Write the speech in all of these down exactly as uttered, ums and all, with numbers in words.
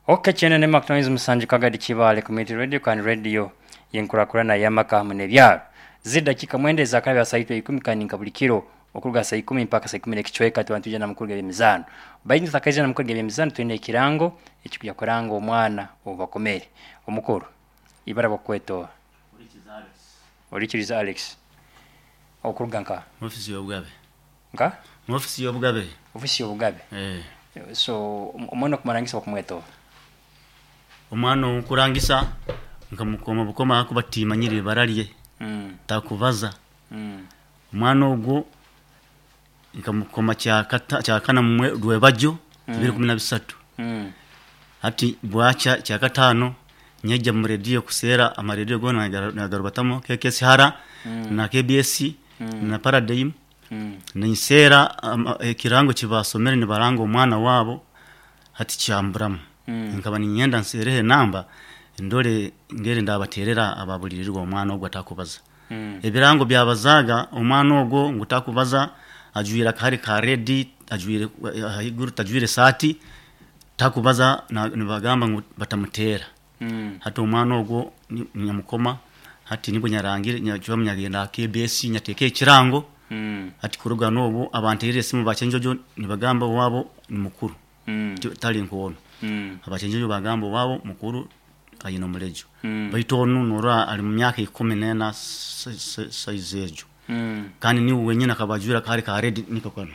Okay, kyenda ne musanju Kagadi Kibaale Community Radio kandi radio yenkurakurana y'amaka hamwe n'ebyaro. Zidakika mwenda ezakabya saa ikumi kandi nka buli kiro okuruga saa ikumi mpaka saa ikumi n'ekicweka tuba nitwija na mukuru g'ebyemizaano. Baingi tutakaija na mukuru g'ebyemizaano, twine ekirango ekikuja kuranga omwana obubakomere. Omukuru, ibara bakwetoa? Orikiriza Alex. Okuruga nka? Ofisi y'obugabe. Nka? Mu ofisi y'obugabe. Ofisi y'obugabe. Eh. So omwana okumarangisa bakumwetoa? Omwana okurangisa nkamukoma bukoma akuba timanyire ibara rye. Mm. Takubaza. Mm. Omwana ogwo nkamukoma kyakata kyakana mwe rwebajo bibiri kumi na bisatu. Mm. Hati bwacha kyakatano nyeja mu radio kusera amaredio gona nagarubatamo K K S hara na K B S na Paradigm. Mm. Ninsera ekirango kibasomere nibaranga omwana wabo, hati kyamburamu. Mm. Nkaba ninyenda nserehe namba ndore ngere ndabaterera ababulirirwa omwana ogwo atakubaza. Mm. Ebirango byabazaga omwana ogwo ngu takubaza, ajwire akahari ka red, ajwire haiguru tajwire saati, takubaza, na- nibagamba ngu batamutera. Mm. Hati omwana ogwo ni- nyamukoma, hati nibwo nyarangire nyacwamu nyagenda K B S nyateeka ekirango. Mm. Hati kuruga n'obu abanterire esimu bakyenjojo nibagamba owabo ni mukuru. Mm. Ti- tali nkwono. Mm. Abakyenjojo bagamba owabo mukuru ayine omulejo. Mm. Baitu onu norora ali mu myaka ikumi n'ena saizi egyo. Mm. Kandi niwe wenyine akaba ajwire akahari ka red niko kano.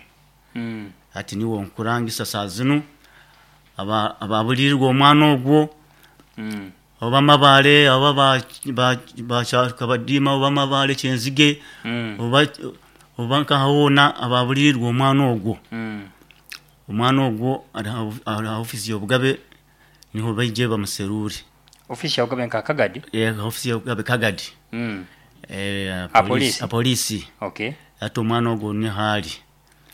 Mm. Hati niwe nkurangisa saa zinu aba ababulirirwa omwana ogwo, Mm. oba Mabale, oba Kabadiima, oba Mabale Kyenzige, Mm. oba oba nkahoona ababulirirwa omwana ogwo. Mm. Omwana ogwo ari ha ofisi y'obugabe, niho baije bamuserure. Ofisi y'obugabe nka Kagadi? Eh, ofisi y'obugabe Kagadi. Mm. Eh. A polisi? A polisi. Okay. Hati omwana ogwo niho ali.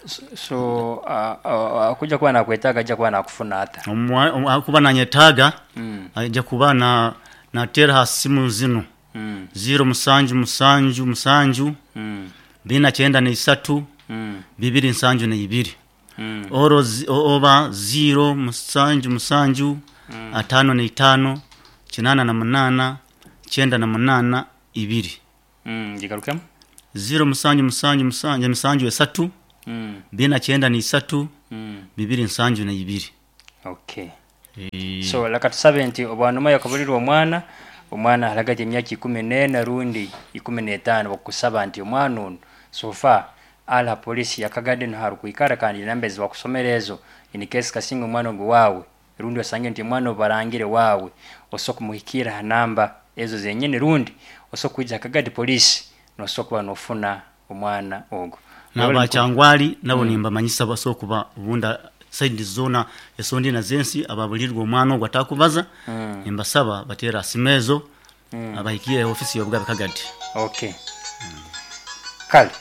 So, so uh, uh, akuja kuba nakwetaaga ajja kuba nakufuna ata? Omwa- omu- akuba nanyetaaga, Mm. ajja kuba na natera ha simu zinu: Mm. ziro musanju musanju musanju Mm. bina kyenda n'isatu Mm. bibiri nsanju n'ibiri, Mm. oro zi- o- oba ziro musanju musanju atano n'itano kinana na munana kyenda na munana ibiri. Mm. Gigarukemu. Ziro musanju musanju musanju musanju esatu Mm. bina kyenda n'isatu Mm. bibiri nsanju n'ibiri. Okay. Eh, So leka tusabe nti obwanuma yakabulirwa omwana, omwana alagati emyaka ikumi n'ena rundi ikumi n'etaano, bakusaba nti omwana ono so far ala polisi yakagade niho arukwikara, kandi namba ezi bakusomera ezo, in case kasinga omwana ogu waawe rundi osange nti omwana ogu barangire waawe, osobola kumuhikira ha namba ezo zenyini, rundi osobola kwija Kagadi polisi nosobola kuba nofuna omwana ogwo. N'abakyangwali nabo nimbamanyisa basobola kuba obunda side zona esondi na zensi ababulirwa omwana ogwo atakubaza, nimbasaba batera simu ezo abahikire ofisi y'obugabe Kagadi. Okay, kale.